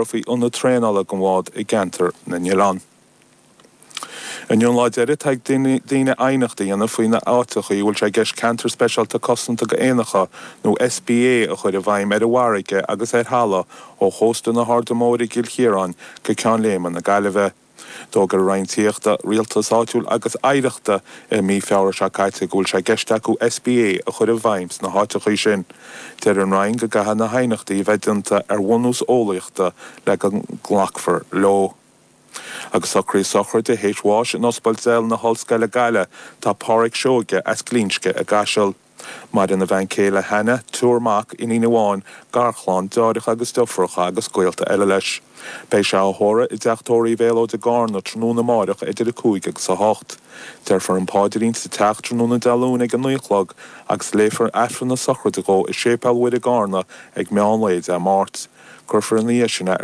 Faoi ionad traenála don bhád i gCeantar na nOileán. Inniu an lá deiridh atá ag daoine aighneacht a dhéanamh faoi na áiteachaí a bhfuil sé i gceist Ceantar Speisialta Cosanta do Éanacha nó SPA a chur i bhfeidhm ar an bhfarraige agus ar thalamh ó chósta na hAirde Móire i gCill Chiaráin go Ceann Léime na Gaillimhe. D'fhógair an Roinn Tithíochta, Rialtais Áitiúil agus Oidhreachta i mí Feabhra seo caite go bhfuil sé i gceist acu SPA a chur i bhfeidhm sna háiteachaí sin. Deir an Roinn go gcaithfidh na haighneachtaí a bheith déanta ar bhunús eolaíochta le go nglacfar leo. Agus socraithe sochraide théis bháis in Ospidéal na hOllscoile Gaillimh tá Páraic Seoige as Glinsce i gCaiseal. Maireann a bhean chéile Hannah, triúr mac, iníon amháin, garchlann, deartháireacha agus deirfiúracha agus gaolta eile leis. Beidh sé á thórramh i dteach tórraimh Mhéalóid i gCarna tráthnóna amáireach idir 5 agus 8. Déarfar an paidrín sa teach tráthnóna Dé Luain ag 9 a chlog agus léifear Aifreann na sochraide dhó i Séipéal Mhuire i gCarna ag meán lae Dé Máirt. Cuirfear ina dhiaidh sin é i.